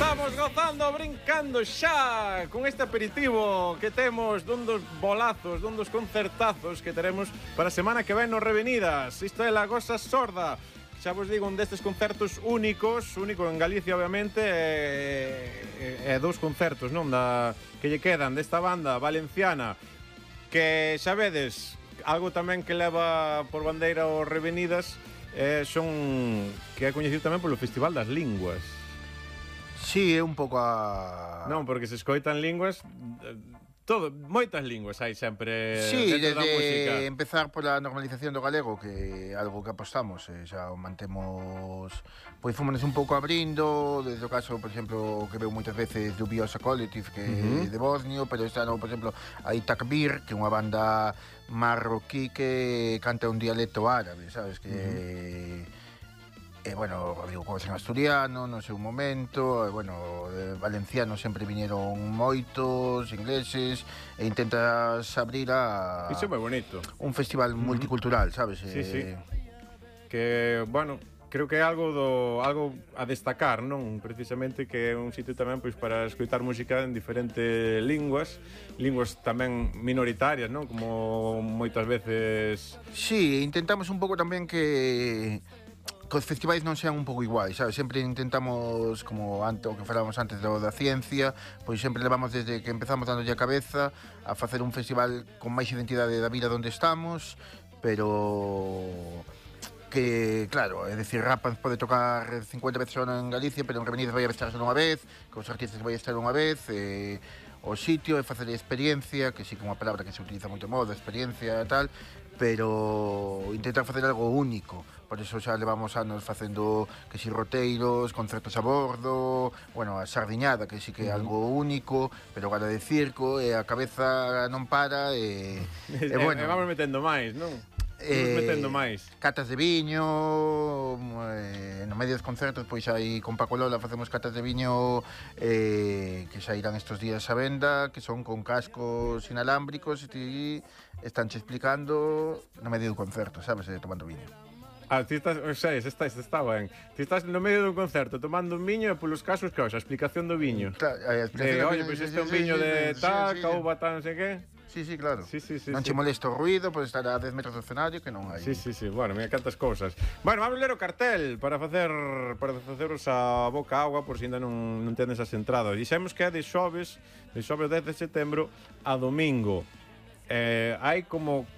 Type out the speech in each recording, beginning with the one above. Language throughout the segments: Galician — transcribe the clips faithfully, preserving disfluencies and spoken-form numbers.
Estamos gozando, brincando xa con este aperitivo que temos dun dos bolazos, dun dos concertazos que teremos para a semana que ven nos Revenidas. Isto é La Gosa Sorda. Xa vos digo, un destes concertos únicos, único en Galicia, obviamente, e, e, e dous concertos, non, da, que lle quedan desta banda valenciana, que xa vedes, algo tamén que leva por bandeira os Revenidas, eh, son, que é coñecido tamén polo Festival das Linguas. Sí, é un pouco a... Non, porque se escoitan linguas, todo, moitas linguas hai sempre sí, dentro da música. Sí, empezar pola normalización do galego, que é algo que apostamos, eh, xa o mantemos, pois fomos un pouco abrindo, desde o caso, por exemplo, que veo moitas veces do Biosa Collective, que é uh -huh. de Bosnio, pero está, no, por exemplo, hai Takbir, que é unha banda marroquí que canta un dialecto árabe, sabes, que... Uh -huh. E, bueno, digo, como en asturiano, no seu momento, e, bueno, eh, valencianos sempre viñeron moitos, ingleses, e intentas abrir a... Iso é moi bonito. Un festival uh -huh. multicultural, sabes? Sí, eh... sí. Que, bueno, creo que é algo do algo a destacar, non? Precisamente que é un sitio tamén pois para escoitar música en diferentes linguas, linguas tamén minoritarias, non? Como moitas veces... Sí, intentamos un pouco tamén que... que os festivais non sean un pouco iguais, sabes? Sempre intentamos, como antes, o que falábamos antes do da ciencia, pois sempre levamos desde que empezamos dándolle a cabeza a facer un festival con máis identidade da vida onde estamos, pero que, claro, é dicir, Rapans pode tocar cincuenta veces ao ano en Galicia, pero en Revenidas vai a estar só unha vez, que os artistas vai a estar unha vez, e o sitio é facer experiencia, que sí que é unha palabra que se utiliza moito modo, experiencia e tal, pero intentar facer algo único. Por iso xa levamos anos facendo que si roteiros, concertos a bordo, bueno, a sardiñada, que sí que é algo único, pero gala de circo, e a cabeza non para, e, e, bueno, e vamos metendo máis, non? Eh, metendo máis. Catas de viño, eh, no medio dos concertos, pois aí con Paco Lola facemos catas de viño eh, que xa irán estos días a venda, que son con cascos inalámbricos, e ti estánche explicando no medio do concerto, sabes, eh, tomando viño. Ah, ti estás, o sea, está, está ben. Ti estás no medio dun concerto tomando un viño e polos casos que a explicación do viño. Claro, a explicación de, do oye, pois pues este é un viño de tal, cauba tal, non sei que. Sí, sí, claro. Sí, sí, sí, non sí. che molesta o ruido, podes estar a dez metros do escenario, que non hai. Sí, sí, sí. Bueno, mira cantas cousas. Bueno, vamos ler o cartel para facer para faceros a boca agua por se ainda non, non tenes as entradas. Dixemos que é de xoves, de xoves dez de setembro a domingo. Eh, hai como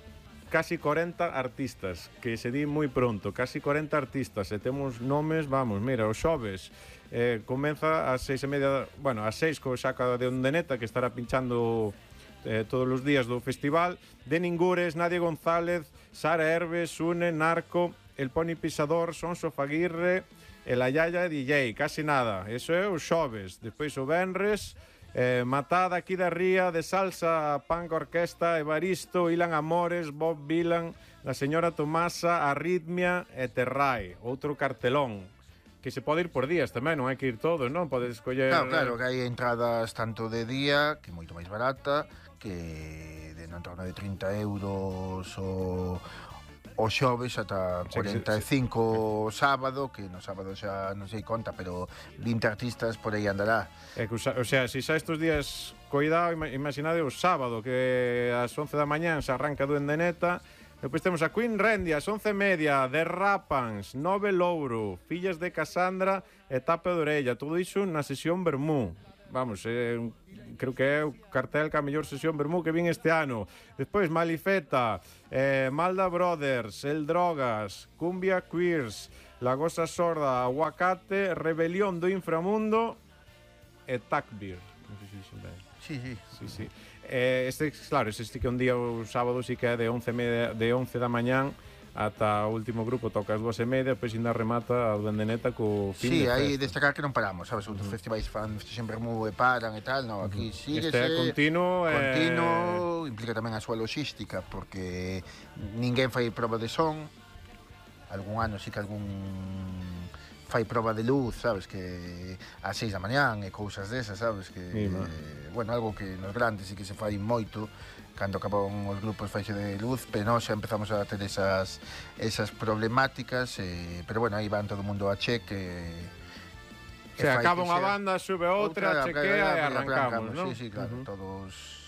casi corenta artistas, que se di moi pronto, casi corenta artistas, e temos nomes, vamos, mira, o xoves eh, comeza ás seis e media, bueno, ás seis co Xaca de Ondeneta, que estará pinchando eh, todos os días do festival, de Ningures, Nadia González, Sara Herves, Sune, Narco, El Pony Pisador, Sonso Faguirre, El Ayaya D J, casi nada, eso é o xoves. Despois o venres, Eh, Matada aquí da Ría, de Salsa, Punk Orquesta, Evaristo, Ilan Amores, Bob Vilan, La Señora Tomasa, Arritmia e Terrai. Outro cartelón que se pode ir por días tamén, non hai que ir todos, non? Podes escoller... Claro, claro, que hai entradas tanto de día, que é moito máis barata, que de non torno de trinta euros o... o xoves ata cuarenta e cinco o sábado, que no sábado xa non sei conta, pero vinte artistas por aí andará. É que, o sea, se xa estes días coidado, imaginade o sábado, que ás once da mañán se arranca do Endeneta. Depois temos a Queen Rendia, ás once e media, The Rapans, Nove Louro, Fillas de Casandra e Tape de Orella. Todo iso na sesión Vermú. Vamos, eh, creo que é o cartel que a mellor sesión Vermú que vin este ano. Despois Malifeta, eh, Malda Brothers, El Drogas, Cumbia Queers, La Gosa Sorda, Aguacate, Rebelión do Inframundo e Takbir. Non sei se dixen ben. Sí, sí. Sí, sí. Eh, este, claro, este que un día o sábado sí que é de once, media, de once da mañán ata o último grupo toca as dúas e media, depois ainda remata a Duendeneta co fin sí, de festa. Sí, aí destacar que non paramos, sabes, outros uh -huh. festivais fan sempre moi e paran e tal, no, aquí uh -huh. síguese. Este é continuo, continuo, eh... implica tamén a súa logística, porque ninguén fai proba de son, algún ano sí que algún fai proba de luz, sabes, que ás seis da mañán e cousas desas, sabes, que sí, eh, bueno, algo que nos grandes sí que se fai moito cando acaban os grupos faixe de luz, pero nós xa empezamos a ter esas esas problemáticas, eh, pero bueno, aí van todo o mundo a cheque, O sea, acaba unha banda, sube outra, chequea e arrancamos, non? Sí, sí, claro, uh -huh. todos...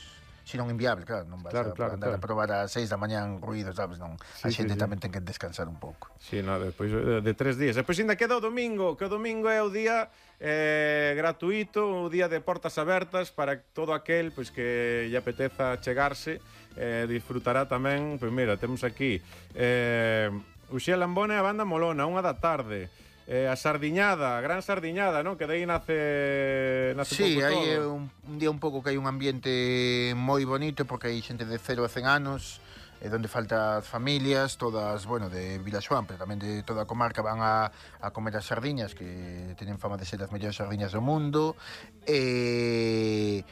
Si non inviable, claro, non vas claro, a claro, andar claro. a probar a seis da mañán ruido, sabes, non? Sí, a xente sí, tamén sí. ten que descansar un pouco. Si, sí, no, despois de, de tres días. Depois ainda queda o domingo, que o domingo é o día eh, gratuito, o día de portas abertas para todo aquel pois, que lle apeteza chegarse, eh, disfrutará tamén, pois mira, temos aquí eh, Uxía Lambona e a banda Molona, unha da tarde. Eh, a sardiñada, a gran sardiñada, non? Que dai nace, nace sí, pouco todo. Sí, hai un, un día un pouco que hai un ambiente moi bonito porque hai xente de cero a cen anos, eh, donde falta as familias, todas, bueno, de Vilaxoán, pero tamén de toda a comarca van a, a comer as sardiñas, que teñen fama de ser as mellores sardiñas do mundo. E...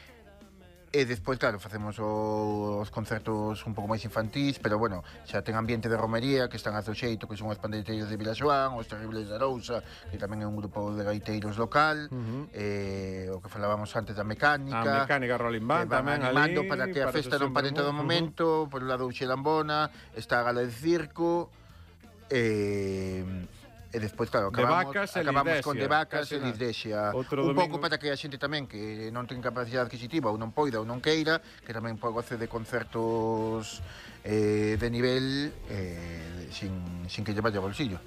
E despois, claro, facemos o, os concertos un pouco máis infantís, pero, bueno, xa ten ambiente de romería, que están a do xeito, que son os pandeiteiros de Vilaxoán, os Terribles de Arousa, que tamén é un grupo de gaiteiros local, uh -huh. eh, o que falábamos antes da mecánica. A mecánica Rolling Band tamén ali. Para que a festa non pare en todo momento, uh -huh. por un lado Uxía Lambona, está a Gala de Circo, eh... E despois, claro, acabamos, de vacas acabamos con de vacas e Lisdexia. Un pouco para que a xente tamén que non ten capacidade adquisitiva ou non poida ou non queira, que tamén pode goce de concertos eh, de nivel eh, sin, sin que lle vaya bolsillo.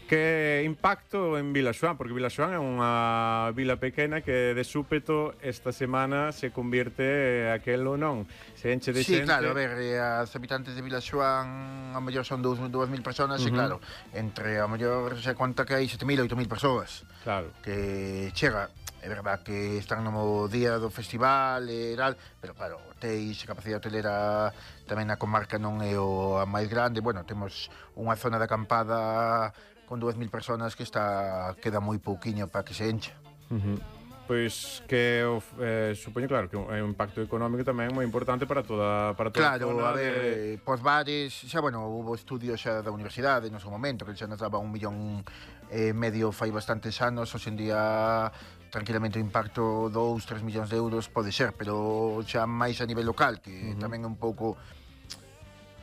Que impacto en Vilaxoán, porque Vilaxoán é unha vila pequena que de súpeto esta semana se convierte aquelo non, se enche de sí, xente. Sí, claro, a ver, as habitantes de Vilaxoán a mellor son dúas mil personas, uh -huh. e claro, entre a mellor se conta que hai sete mil, oito mil persoas. Claro. Que chega, é verdad que están no día do festival e tal, pero claro, teis capacidade hotelera tamén na comarca non é o a máis grande, bueno, temos unha zona de acampada con dúas mil personas que está queda moi pouquiño para que se encha. Uh -huh. Pois que eh, supoño, claro, que é un impacto económico tamén moi importante para toda para toda claro, a zona. A ver, de... pos bares, xa, bueno, hubo estudios xa da universidade no seu momento, que xa nos daba un millón e eh, medio fai bastantes anos, hoxe en día tranquilamente o impacto dous, tres millóns de euros pode ser, pero xa máis a nivel local, que uh -huh. tamén é un pouco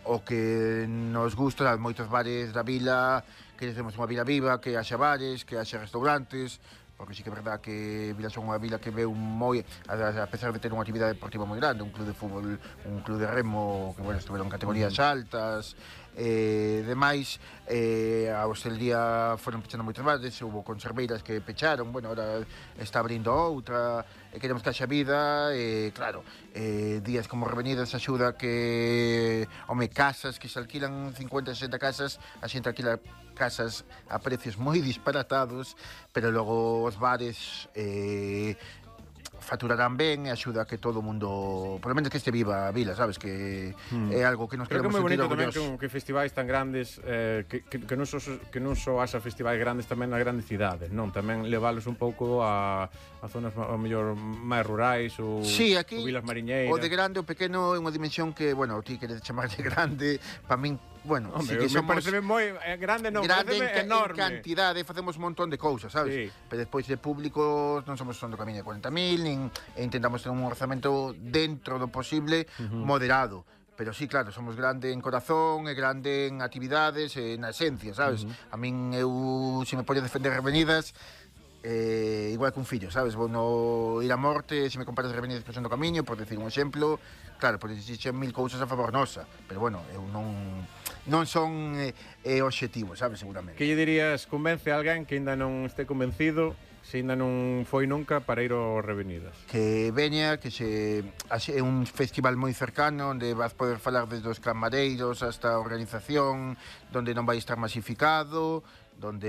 o que nos gusta, moitos bares da vila, que temos unha vila viva, que haxa bares, que haxa restaurantes, porque sí que é verdad que Vilaxoán é unha vila que veu moi, a pesar de ter unha actividade deportiva moi grande, un club de fútbol, un club de remo, que, bueno, estuveron en categorías altas, e demais, eh, a hostelería foron pechando moitos bares, hubo conserveiras que pecharon, bueno, ahora está abrindo outra, e queremos que haxa vida, e claro, eh, días como Revenidas axuda que, home, casas que se alquilan cincuenta, sesenta casas, a xente alquila casas a precios moi disparatados, pero logo os bares eh, facturarán ben e axuda a que todo o mundo, por lo menos que este viva a vila, sabes, que hmm. é algo que nos queremos sentir orgullosos. Creo que é moi bonito tamén que, que festivais tan grandes eh, que, que, que non so, que non só haxa festivais grandes tamén nas grandes cidades, non? Tamén leválos un pouco a, a zonas ao mellor máis rurais ou, sí, aquí, ou vilas mariñeiras. O de grande ou pequeno é unha dimensión que, bueno, ti queres chamarlle grande, para min, bueno, hombre, sí que me somos parece moi eh, grande, non, grande en, enorme. En cantidade, facemos un montón de cousas, sabes? Sí. Pero despois de público non somos son do camiño de cuarenta mil, nin e intentamos ter un orzamento dentro do posible, uh -huh. moderado. Pero sí, claro, somos grande en corazón, e grande en actividades, e na esencia, sabes? Uh -huh. A min, eu, se me poño defender Revenidas, eh, igual que un fillo, sabes? Vou no ir a morte, se me comparas Revenidas que son do camiño, por decir un exemplo, claro, por dicir mil cousas a favor nosa, pero bueno, eu non non son eh, eh, obxectivos, sabes, seguramente. Que lle dirías, convence a alguén que ainda non este convencido, se ainda non foi nunca para ir ao Revenidas? Que veña, que se é un festival moi cercano, onde vas poder falar desde os camareiros hasta a organización, donde non vai estar masificado, donde